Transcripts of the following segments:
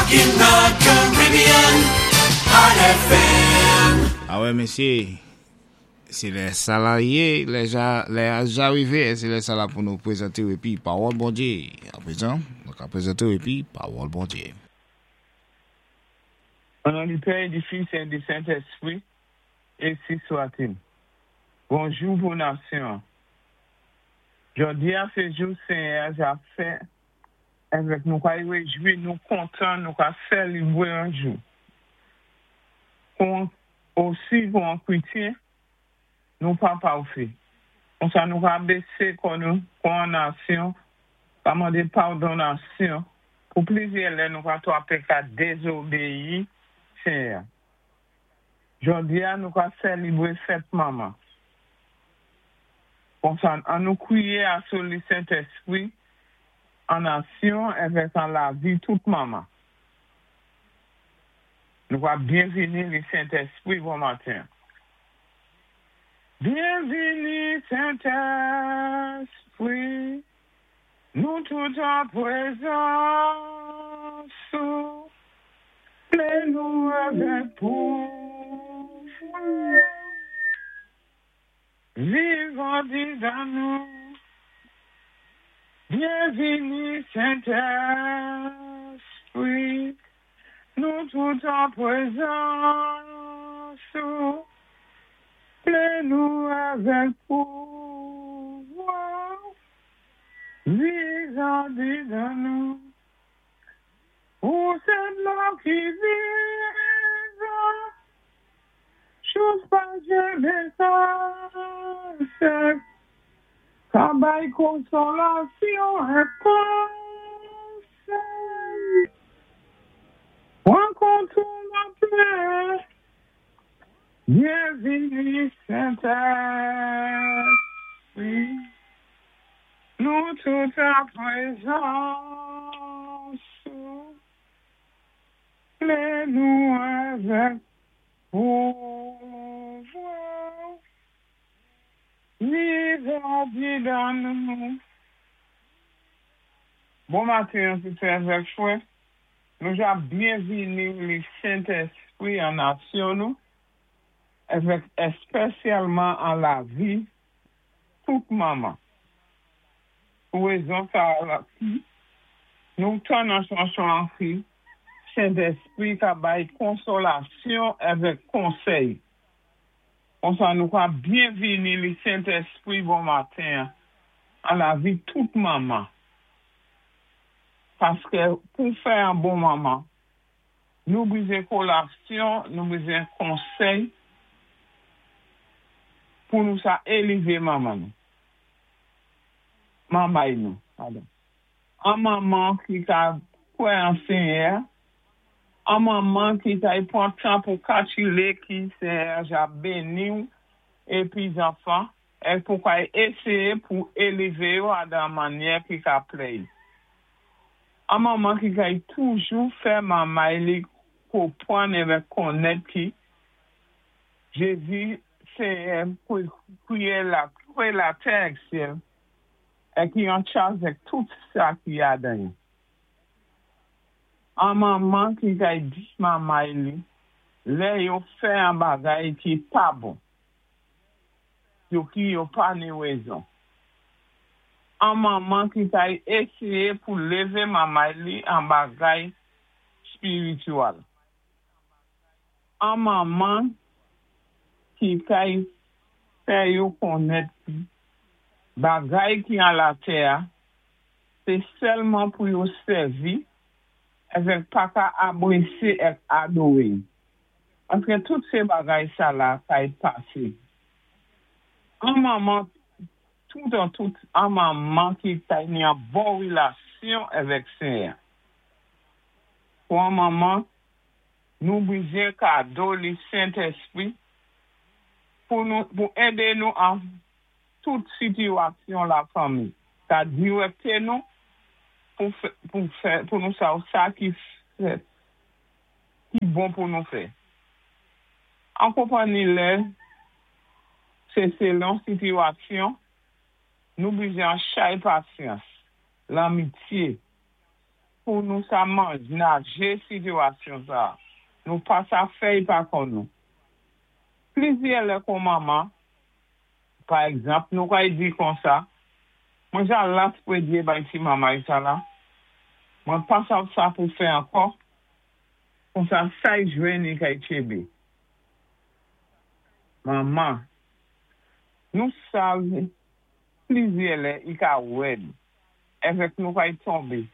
Rockin' the Caribbean on FM. Awè mesyé, sé lè sa la yé, lè ja, lè a ja rivé, é sé lè sa la pou nou pwézanté-w épi Pawòl Bondyé. Aprezan, nou ka pwézanté-w épi Pawòl Bondyé. O non di Pè e di Fis e di Sentespri, ensi swatil. Bonjou pou nasyon an. Jòdi a se jou Senyè a ja fè avèk nou ka rejwi nou kontan nou ka sèlibre an jou. Pou osi pou an kretyen nou pa pafè. Konsa nou ka bese kò nou kou an nasyon ka mande padon nasyon pou plizyè lè nou ka twape ka dezobeyi Senyè a. Jodi a nou ka sèlibre fèt manman. Konsa an nou kriye aso li Sentespri an nasyon evèk an lavi tout manman. Nou ka byenvini li Sentespri bon maten. Byenvini Sentespri nou tout an prezans ou plen nou avèk pouvwa viv andidan nou Byenvini Sentespri nou tout an prezans ou plen nou avèk pouvwa Viv andidan nou. Ou sé dlo ki vivan, Sous pa janmen ka sèk, Ka bay konsolasyon ak konsèy. Pran kontwòl lapè, Byenvini Sentespri. Nou tout an prezans ou, plen nou avèk pouvwa ou, viv andidan nou. Bon maten sè avèk frè, nou ja byenvini li Sentespri an nasyon nou, avèk èspèsyalman an lavi tout manman. Pou rezon sa a ki nou tann an chanson an ki Sentespri ka bay konsolasyon avèk konsèy. Konsa nou ka byenvini li Sentespri bon maten an an lavi tout manman. Paske pou fè an bon manman Nou bezwen kolasyon, nou bezwen konsèy pou nou sa elive manman nou. Manmay nou, padon. An manman ki ka kwè an Senyè a, an manman ki ka pran tan pou kalkile ki Senyè a ja beni w epi zanfan, e pou ka eseye pou elive yo a dan mannyè ki ka plè y. An manman ki kay toujou fè manmay li konpwann evèk konnèt ki Jezi Senyè kreye la kreye latè èk syèl è ki an chaj èk tout sa ki adan yo. An manman ki kay di manmay li lè yo fè an bagay ki pa bon. Yo ki yo pa ni rezon. An manman ki ta eseye pou leve mamay li an bagay spiritual. An manman ki ta fè yo konnèt ki bagay ki an latè a sé sèlman pou yo sèvi avèk pa ka abrésé èk adoré. Paské tout sé bagay sa la kay pasé. An manman tout an tout an manman ki kay ni an bon relasyon avèk Senyè. Pou an manman nou bizyen kado li Sentespri pou nou pou édé nou an tout sitiyasyon la fanmi ka dirèkté nou pou fè pou fè pou nou sa sa ki fèt ki bon pou nou fè. An konpanni lè sé selon sitiyasyon nou bizyen an chay pasyans, lanmityé. pou nou sa manajé sitiwasyon sa. Nou pa sa fè-y pa kò nou. Plizyè lè kon manman, pa egzanp, nou kay di konsa, mwen ja las pwédyé bay ti manmay sa la, mwen pa sav sa pou fè ankò, konsa sa-y jwenn i kay tchébé. Manman, nou sav plizyè lè i ka wèd, èvèk nou kay tonbé,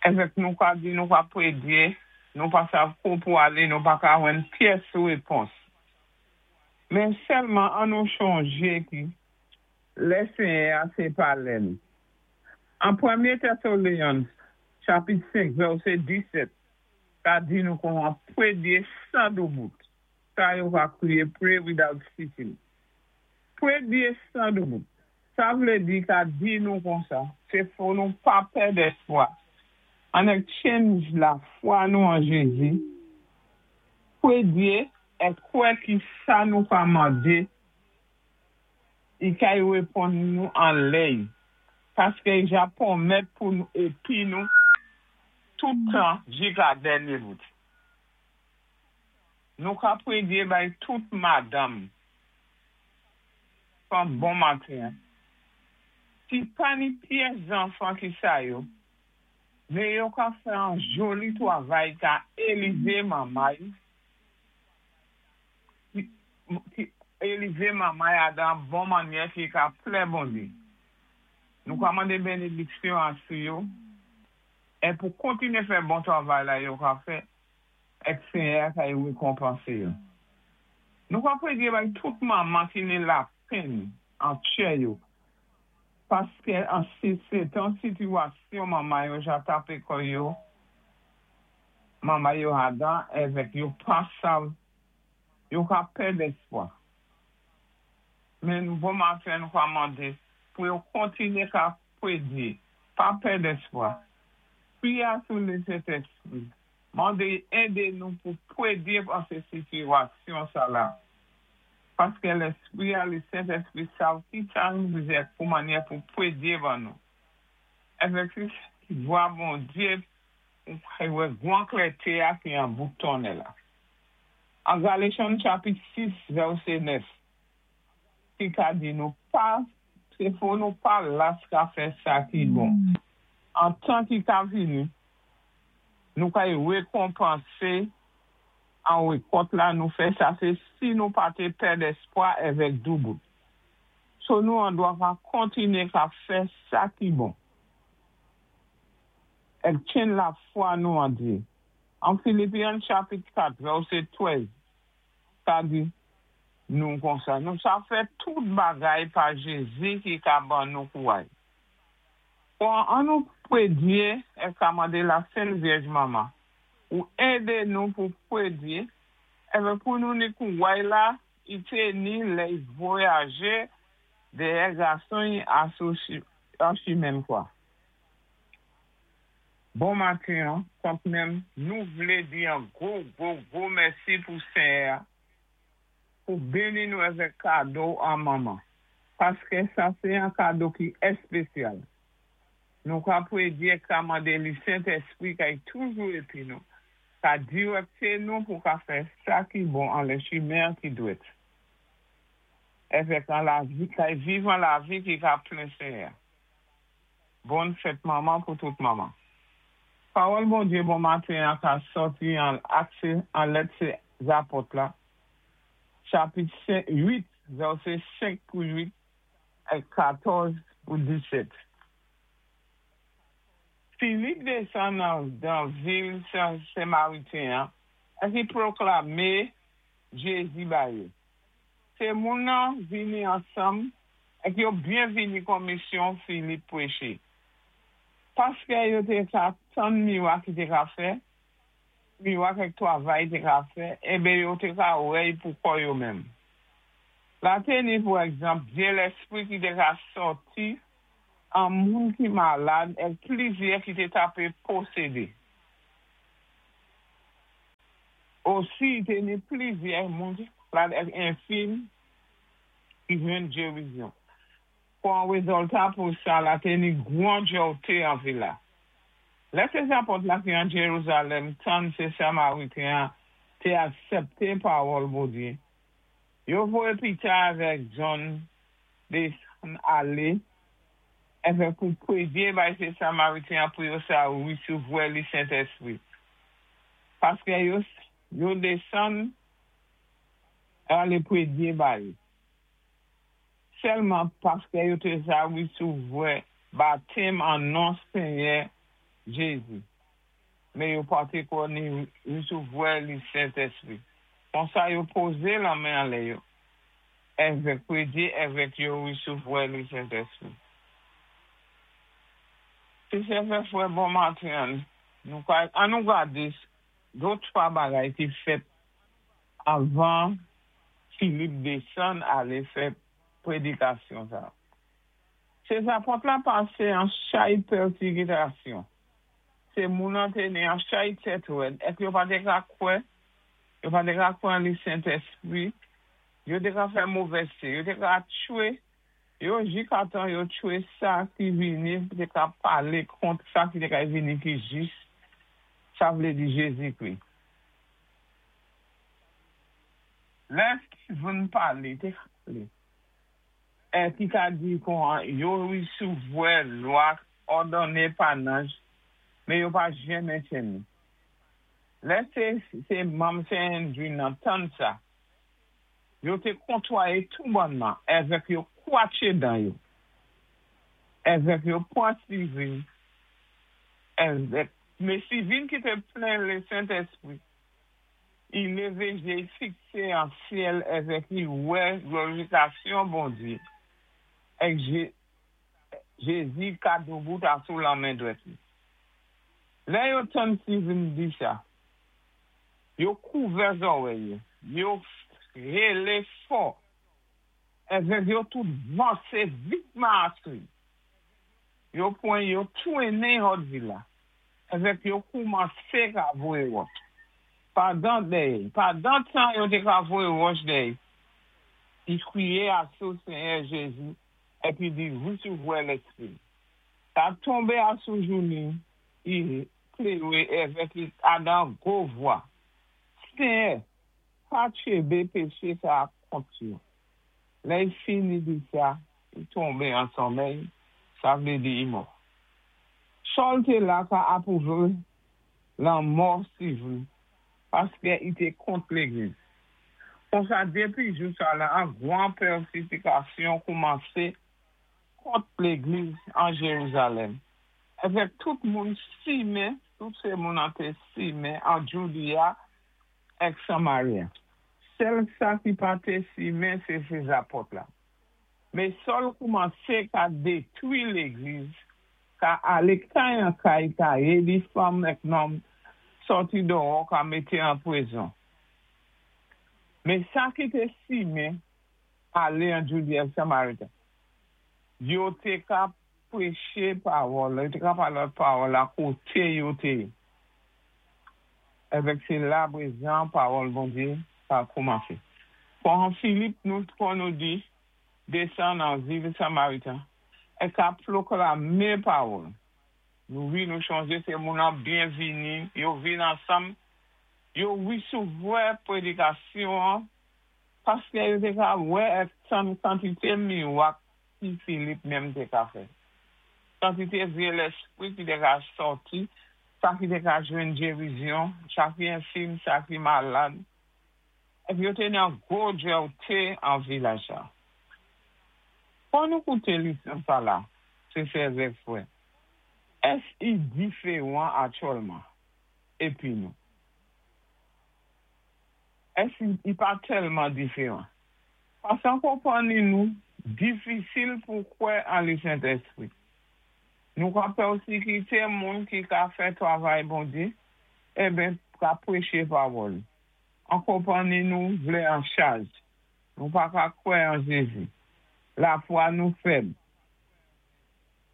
èvèk nou ka di nou ka pwédyé, nou pa sav kou pou alé, nou pa ka jwenn pyès wépons. Men sèlman an nou chonjé ki lè Séyè-a sé pa lè-n. An Pwémyé Thessalonians, chapit 5, vèsé 17, ka di nou kon pwédyé san doubout. Sa yo va kwiyé "Pray without ceasing". Pwédyé san doubout. Sa vlé di ka di nou konsa, sé fò nou pa pèd èspwa. An tchenn lafwa nou an Jézi, pwédyé é kwè ki sa nou ka mandé, i kay wéponn nou an lè-y. Paské i ja pwomèt pou nou épi nou tout tan jika dènyé bout. Nou ka pwédyé bay tout madanm kon bon maten. Ki pa ni pyès zanfan ki sa yo, men yo ka fè an joli twavay ka élevé manmay, ki élevé manmay a dan bon mannyè ki ka plè Bondyé. Nou ka mandé bénédiksyon asou yo, é pou kontiné fè bon twavay la yo ka fè, èk Séyè ka yo wékonpansé yo. Nou ka pwédyé bay tout manman ki ni lapenn an tchè yo, paské an sé tan sitiwasyon manman yo ja tapé kò yo, manman yo adan èvèk yo pa sav, yo ka pèd èspwa. Men nou bon maten nou ka mandé pou yo kontiné ka pwédyé, pa pèd èspwa. Kwiyé asou lé Sentèspwi, mandé édé nou pou pwédyé an sé sitiwasyon sa la. Paské Lèspwi a lé Sentèspwi sav ki sa nou bizwen pou mannyè pou pwédyé ban nou. Èvèk si vwa Bondyé ou kay wè gwan klèté a ki an bout tonnèl la. An Galasyen chapit 6, vèsé 9, ki ka di nou pa, sé fò nou pa las ka fè sa ki bon. An tan ki ka vini, nou kay wékonpansé an wékòt la nou fè sa sé si nou pa té pèd èspwa èvèk doubout. So nou an dwa ka kontiné ka fè sa ki bon. Èk tchenn lafwa nou an Dyé. An Philippians chapit 4, vèsé 13, sa di nou konsa. Nou sa fè tout bagay pa Jézi ki ka ban nou kouway. Bon, an nou pwédyé é ka mandé la Sent Vyèj Manman ou édé nou pou pwédyé, èvèk pou nou ni kouway la, i té ni lè i vwayajé dèyè gason-y asou an chimen kwa. Bon maten, kont menm nou vlé di an gwo, gwo, gwo mèsi pou Séyè pou béni nou avèk kado an manman. Paské sa sé an kado ki èspésyal. Nou ka pwédyé ka mandé li Sentèspwi kay toujou épi nou, ka diwèkté nou pou ka fè sa ki bon an lé chimen ki dwèt. Èvèk an lavi, kay viv an lavi ki ka plè Séyè. Bòn fèt manman pou tout manman. Pawòl Bondyé bon maten an ka sòti an Acte an lèt sé Zapòt la, chapit 8, vèsé 5 pou 8 é 14 pou 17. Philippe désann nan dan vil Samariten an, é ki pwoklamé Jézi ba yo. Sé moun nan vini ansanm èk yo byen vini kon misyon Philippe pwéché. Paské yo té ka tann miwak ki té ka fè, miwak èk twavay té ka fè, enben yo té ka wè-y pou kò yo menm. La té ni pou egzanp, vyé lèspwi ki té ka sòti an moun ki malad èk plizyè ki té tapé posédé. Osi, té ni plizyè moun ki malad èk enfim ki jwenn gérizon. Kon an wézilta pou sa, la té ni gwan jòwté an vil la. Lè sé zapòt la ki an Jérusalem tann sé Samariten té aksépté pawòl Bondyé, yo voyé Pitè avèk Jan désann alé avèk pou prédyé bay sé Samariten pou yo sa wésouvwa li Sentèspwi. Paské yo yo désann alé prédyé ba yo. Sèlman paské yo té sa wésouvwa batèm an non Senyè Jézi. Mé yo pa té ko ni wésouvwa li Sentèspwi. Konsa yo pozé lanmen anlè yo. Avèk prédyé avèk yo wésouvwa li Sentèspwi. Sé sè avèk frè bon maten, nou ka, an nou gadé dé twa bagay ki fèt avan Philippe désann alé fè prédikasyon sa. Sé zapòt la pasé an chay pèsikitasyon. Sé moun an té ni an chay tèt wèd, èk yo pa té ka kwè, yo pa té ka kwè an li Sentèspwi, yo té ka fè movèzté, yo té ka tchwé, yo jikatan yo tchwé sa ki vini, té ka palé kont sa ki té ka vini ki jis, sa vlé di Jézi-Kri. Lè Stephen palé, té palé, é ki ka di kon yo wésouvwa lwa òdonné pa nanj, mé yo pa janmen tjenn. Lè sé sé manm Sanhedrin nan tann sa, yo té kontwayé tou bònman avèk yo kwatché dan yo. Avèk yo pwan Stephen, avèk mé Stephen ki té plen lé Sentèspwi, i lévé jé fiksé an syèl avèk i wè glorifikasyon Bondyé, èk Jézi ka doubout asou lanmen dwèt li. Lè yo tann Stephen di sa, yo kouvè zòwèy yo, yo rélé fò, avèk yo tout vansé vitman asou. Yo pwan yo twennen hòt vil la, avèk yo koumansé ka voyé wòch. Pandan dèyè, pandan tan yo té ka voyé wòch dèyè, i kriyé asou Senyè Jézi, épi di wésouvwa Lèspwi. Ka tonbé asou jou ni, i pléré avèk i adan gwo vwa. Senyè, pa tchébé péché sa kont yo. Lè i fini di sa, i tonbé an sonmèy, sa vlé di i mò. Sòl té la ka apwouvé lanmò Stephen paské i té kont légliz. Konsa dépi jou sa la an gwan pèsikitasyon koumansé kont légliz an Jérusalem. Avèk tout moun simen, tout sé moun an té simen an Judea èk Samaria. Sèl sa ki pa té simen sé sé zapòt la. Mé Sòl koumansé ka détwi légliz, ka alé kay an kay, ka rédi fanm èk nonm sòti dòwò ka mété an pwizon. Mé sa ki té simen alé an Judea èk Samaria, yo té ka préché pawòl, yo té ka palé pawòl la koté yo té. Avèk sé la pwézan pawòl Bondyé ka koumansé. Kon Philippe nou kon nou di désann an vil Samaritan é ka pwoklamé pawòl. Nou wi nou chonjé sé moun an byen vini, yo vin ansanm, yo wésouvwa prédikasyon an, paské yo té ka wè èk tann kantité miwak ki Philippe menm té ka fè. Kantité vyé lèspwi ki té ka sòti, sa ki té ka jwenn gérizyon, sa ki enfim, sa ki malad. Épi yo té nan gwo jwèwté an vilaj la. Kon nou kouté lisyon sa la, sé sè avèk frè. Ès i diféwan aktyèlman épi nou? Ès i pa tèlman diféwan? Pasan konpanni nou difisil pou kwè an li Sentèspwi. Nou ka pèsikité moun ki ka fè travay Bondyé, eben ka préché pawòl. An konpanni nou vlé an chaj. Nou pa ka kwè an Jézi. Lafwa nou fèb.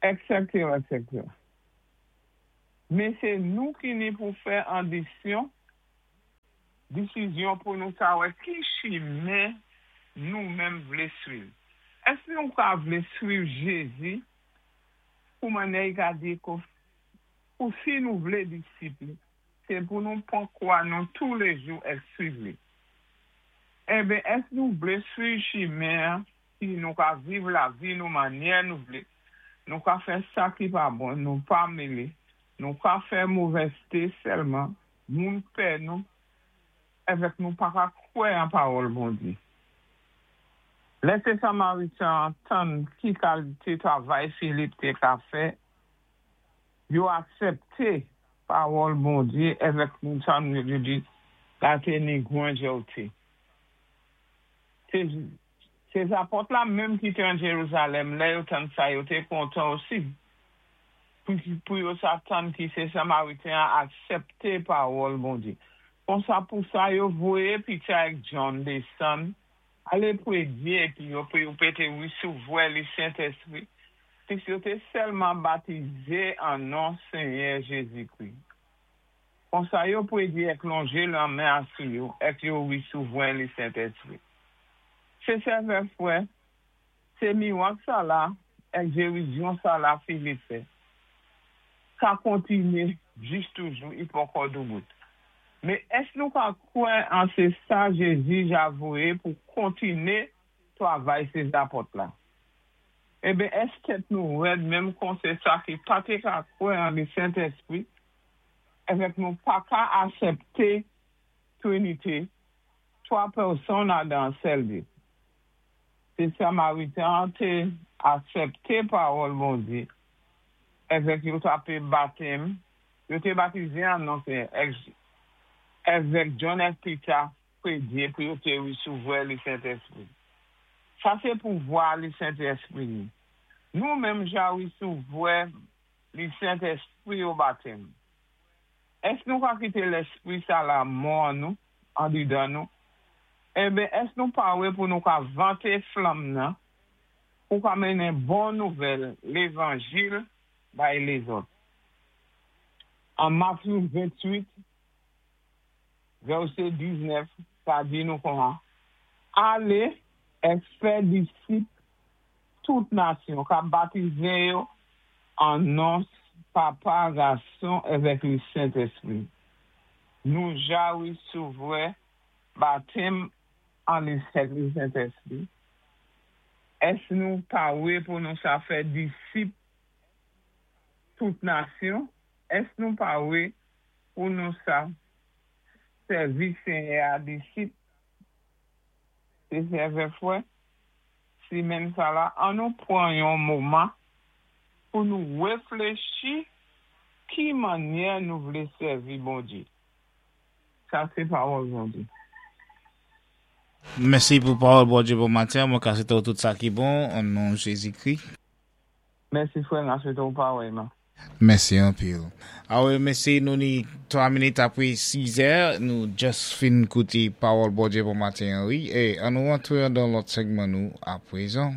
Etc. Etc. Mé sé nou ki ni pou fè an disyon, disizyon pou nou sa wè ki chimen nou menm vlé swiv. Ès nou ka vlé swiv Jézi pou mannyè i ka di ko. Pou si nou vlé disip li, sé pou nou pwan kwa nou touléjou èk swiv li. Enben, èsk nou vlé swiv chimen-an ki nou ka viv lavi nou mannyè nou vlé, nou ka fè sa ki pa bon, nou pa mélé, nou ka fè movèzté sèlman, moun pè nou, èvèk nou pa ka kwè an pawòl Bondyé. Lè sé Samariten-an tann ki kalité travay Filip té ka fè, yo aksèpté pawòl Bondyé èvèk nou tann yo di la té ni gwan jèwté. Sé zapòt la menm ki té an Jérusalem, lè yo tann sa, yo té kontan osi pou yo sa tann ki sé Samariten-an aksèpté pawòl Bondyé. Konsa pou sa yo voyé Pita èk John désann alé prédyé épi yo pou yo té wisouvoua li Sentèspri, pis yo té sèlman batizé an non Senyè Jézi-Kri. Konsa yo prédyé èk lonjé lanmen asou yo èk yo wisouvoua li Sentèspri. Sé sèvè fwè, sé miwak sa-la èk gérizyon sa-la Filip fè. Sa kontiné jis toujou, i poko doubout. Mé èsk nou ka kwè an sé sa Jézi ja voyé pou kontiné travay sé zapòt la? Enben, èsk tèt nou rèd menm kon sé sa ki pa té ka kwè an li Sentèspri, èvèk nou pa ka asèpté Trinité, twa pèsonn adan sèl Dyé? Sé Samariten-an té asèpté pawòl Bondyé, èvèk yo ta-pé batèm, yo té batizé an non Senyè, èvèk John èk Pita prédyé pou yo té wisouvoua li Sentèspri. Sa sé pouvwa li Sentèspri ni. Nou menm ja wisouvoua li Sentèspri o batèm. Èsk nou ka kité Lèspri sa-la mò an nou, andidan nou? Enben, èsk nou pawé pou nou ka vanté flanm nan, pou ka mennen bon nouvèl Lévanjil bay lézòt? An Matyu 28, vèsé 19, sa di nou konwa, Alé èk fè disip tout nasyon, k-ap batizé yo an non Papa, Gason èvèk li Sentèspri. Nou ja wisouvoua batèm an li Sentèspri. Èsk nou pawé pou nou sa fè disip tout nasyon? Èsk nou pawé pou nou sa sèvi Senyè-a disip? Sé sèvè fwè, simenn sa-la, an nou pwan yon moman pou nou wéfléchi ki mannyè nou vlé sèvi Bondyé. Sa sé pawòl Bondyé. Mèsi pou pawòl Bondye bon maten an, mwen ka swete w tout sa ki bon an non Jezikri. Mèsi frè m, a swete w parèyman. Mèsi anpil. Awe mèsi nou ni 3 minit apre 6 è nou just fin koute pawòl Bondye bon maten an wi e an nou antre andan lòt segman nou aprezan.